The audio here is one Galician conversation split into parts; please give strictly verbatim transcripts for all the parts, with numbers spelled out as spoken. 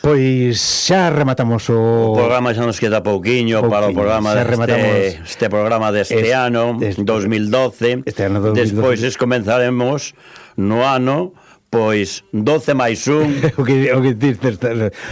Pois xa rematamos o... O programa xa nos queda pouquiño pouquiño. para o programa Xa deste, rematamos este programa deste este, ano, este, dos mil doce. Este ano dos mil doce. Despois comenzaremos no ano pois doce máis un. o que o que dices.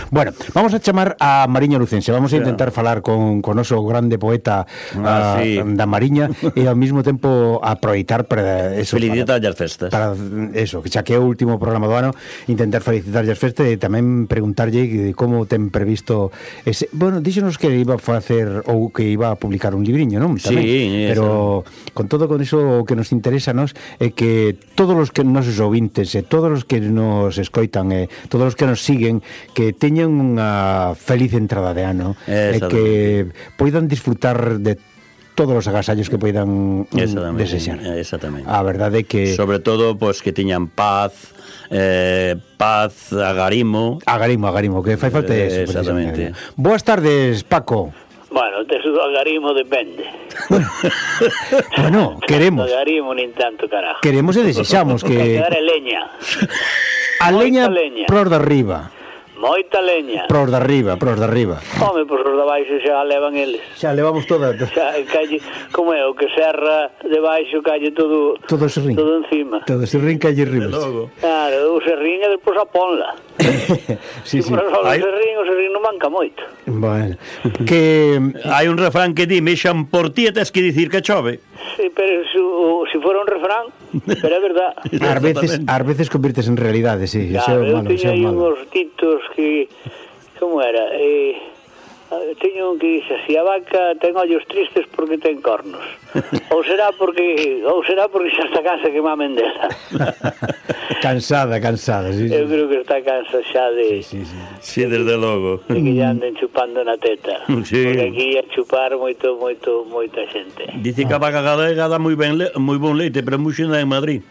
Bueno, vamos a chamar a Mariña Lucense. Vamos a intentar yeah. falar con con noso grande poeta ah, a, sí. da Mariña e ao mesmo tempo aproveitar para eso, felicitar as festas. Para eso, que xa que é o último programa do ano, intentar felicitar as festas e tamén preguntarlle como ten previsto ese, bueno, díxenos que iba a facer ou que iba a publicar un libriño, non? Tamén. Sí, pero eso. Con todo con eso o que nos interesa nos é que todos os que nosos ouvintes e todos todos os que nos escoitan e eh, todos os que nos siguen que teñan unha feliz entrada de ano e que poidan disfrutar de todos os agasallos que poidan desexar. Exactamente. A verdade é que sobre todo pois que teñan paz, eh, paz, agarimo, agarimo, agarimo, que fai falta eh, eso. Exactamente. Boas tardes, Paco. Bueno, de do agarimo depende. Bueno, queremos. Agarimo nin tanto, carajo. Queremos e desexamos que... Agar leña. A leña, leña. Pros de arriba. Moita leña. Pros de arriba, pros de arriba. Home, pros de baixo xa levan eles. Xa levamos toda. Xa calle, como é, o que serra de baixo calle todo todo serrín. Todo encima. Todo serrín calle arriba. Claro, o serrín e despois a ponla. Sí, sí. Pero só o serrín, o serrín non manca moito. Bueno, que hai un refrán que di, mexan por ti e tes que dicir que chove. Sí, pero se si fuera un refrán, pero é verdad. Ás veces, ás veces convirtes en realidade, sí. Claro, eu teño aí uns titos que, como era, eh, teño un que dice, si a vaca ten ollos tristes porque ten cornos, ou será porque ou será porque xa está cansa que mamen dela. Cansada, cansada, sí, eu sí. creo que está cansa xa de sí, sí, sí. Sí, desde logo de que ya anden chupando na teta, sí. Porque aquí a chupar moito, moito, moita xente. Dice que a vaca galega dá moi ben le, moi bon leite, pero moi xena en Madrid.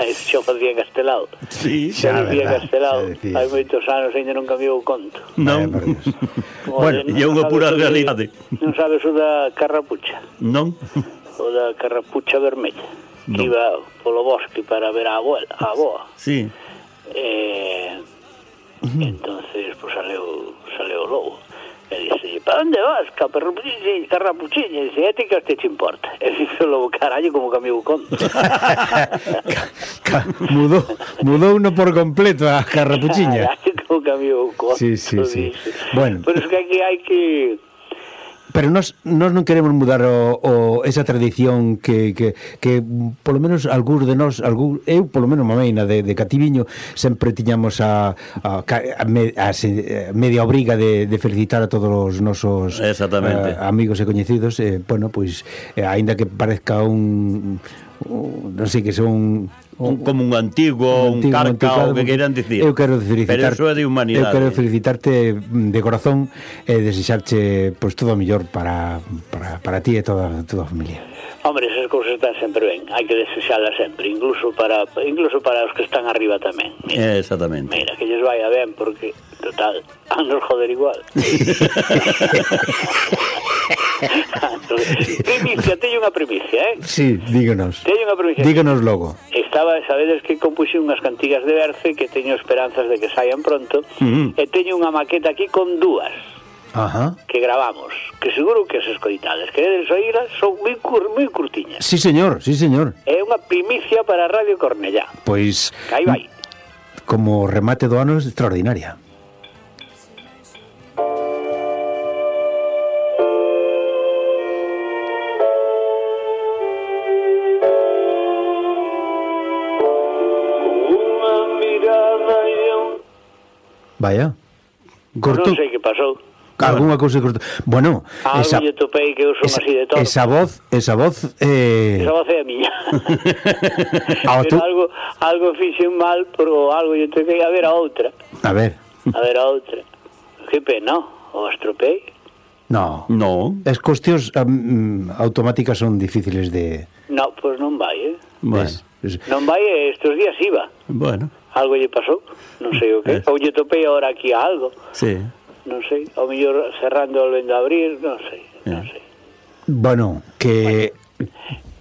Xa facía Castelao. Sí, xa facía Castelao. Hai moitos anos ainda non cambiou o conto. Non. Bueno, e é unha pura realidade. Non sabes o da carrapucha? Non. O da carrapucha vermella. Que no. Iba polo bosque para ver a abuela, a aboa. Sí. Eh, uh-huh. Entonces, pues saleu, saleu o lobo. E dice, para onde vas, carrapuchiña? Carrapuchiña. E dice, ética te te importa. E dice o lobo, carallo, como cambiou o conto. mudou, mudou uno por completo a carrapuchiña. Carallo, como cambiou o conto. Sí, sí, sí. Bueno. Pero es que aquí hai que... Pero nós, nós non queremos mudar o, o, esa tradición que, que, que polo menos algúns de nós, algún, eu polo menos mameina de, de cativiño sempre tiñamos a, a, a, me, a, a media obriga de, de felicitar a todos os nosos uh, amigos e coñecidos, eh, bueno, pois eh, aínda que parezca un, un non sei que son un, como un antigo, un, antigo, un carca, o que queiran dicir. Eu quero felicitar, pero eso é de humanidade. Eu quero felicitarte de corazón e desexarche pois todo o mellor para, para, para ti e toda, toda a familia. Hombre, esas cousas están sempre ben, hai que desexalas sempre, incluso para incluso para os que están arriba tamén. Mira, exactamente. Mira, que lles vaya ben, porque, total, a nos joder igual. Primicia, teño unha primicia, eh? Sí, díganos. Teño unha primicia. Díganos logo. Estaba, sabedes que compuxe unhas cantigas de Berce que teño esperanzas de que saian pronto, uh-huh. E teño unha maqueta aquí con dúas. Ajá. Que gravamos, que seguro que as escoitades queredes oíras, son moi, cur, moi curtiñas. Sí, señor, sí, señor. É unha primicia para Radio Cornellá. Pois que aí vai. Como remate do ano é extraordinaria. Unha mirada e un... Vaya. Corto. Non sei que pasou. Alguna cousa corto. Bueno, algo esa, lle topei que eu son esa, así de todo. Esa voz, esa voz eh... esa voz é a miña. Pero tú... algo algo fixen mal, pero algo lle topei a ver a outra. A ver. A ver a outra. Que pena, o estropei. No. No. As cuestións um, automáticas son difíciles de... No, pois pues non vai, eh? Bueno. Es... Non vai, estes días iba. Bueno. Algo lle pasou, non sei o que. Eh. Ou lle topei agora aquí a algo. Sí. Non sei, ao mellor cerrando volvendo a abrir, non sei, non sei. Bueno, que...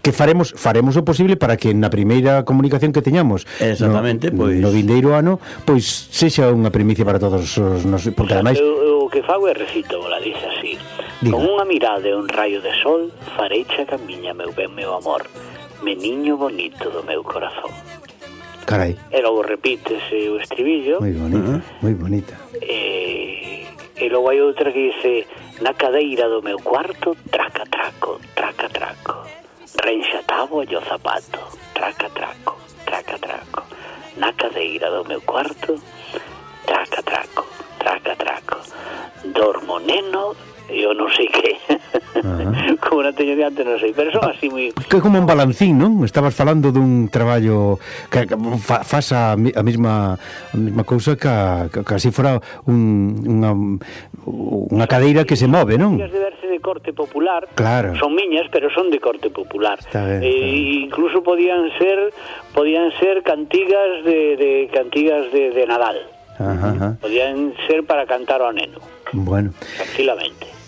que faremos faremos o posible para que na primeira comunicación que teñamos exactamente, no, pois no vindeiro ano, pois sexa unha primicia para todos os nos, porque ademais o, o que fago é recito, la dice así. Diga. Con unha mirada e un raio de sol fareicha camiña, meu ben, meu amor, meniño bonito do meu corazón. Carai. E logo repítese o estribillo. Moi bonita, uh-huh. moi bonita. E, e logo hai outra que dice: na cadeira do meu cuarto, traca traco, traca traco, reenxatabo o zapato, traca traco, traca traco, na cadeira do meu cuarto, traca traco, traca traco, dormo neno, eu non sei que. Uh-huh. Como non teño diante, non sei, pero son así moi... Que é como un balancín, non? Estabas falando dun traballo que, que fa, faz a, a mesma a mesma cousa que, que, que así fora un, unha, unha cadeira que se move, non? De verse de corte popular, claro. Son miñas, pero son de corte popular. Ben, e, incluso podían ser podían ser cantigas de, de cantigas de, de Nadal. Ajá, ajá. Podían ser para cantar ao neno. Bueno. Tranquilamente.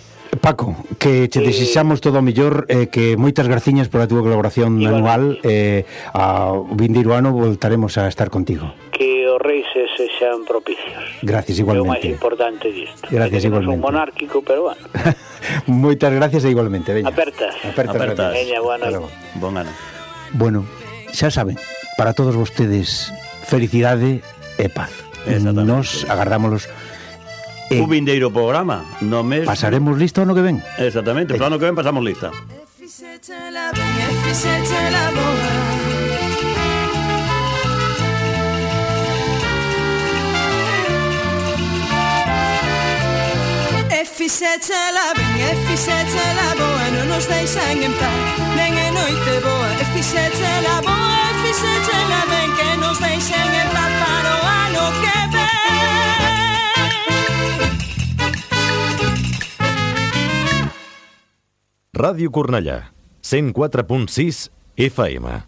Paco, que che desexamos todo o mellor, eh, que moitas graciñas pola túa colaboración anual, eh, ao vindeiro ano voltaremos a estar contigo. Que os reis sexan propicios. Gracias, igualmente. É o máis importante disto. Gracias, igualmente. Non son monárquico, pero bueno. Moitas gracias e igualmente, veña. Apertas. Apertas. Apertas. Veña, bueno. Bon ano. Bueno, xa saben, para todos vostedes, felicidade e paz. Nos agardámolos un vindeiro programa no mes... Pasaremos lista o ano que ven. Exactamente, o ano que ven pasamos lista. E fixéchela ben, e fixéchela boa, non nos deixan en paz, nen e noite boa. E fixéchela boa, e fixéchela ben, que nos deixen en paz para o ano que ven. Ràdio Cornellà, cent quatre punt sis F M.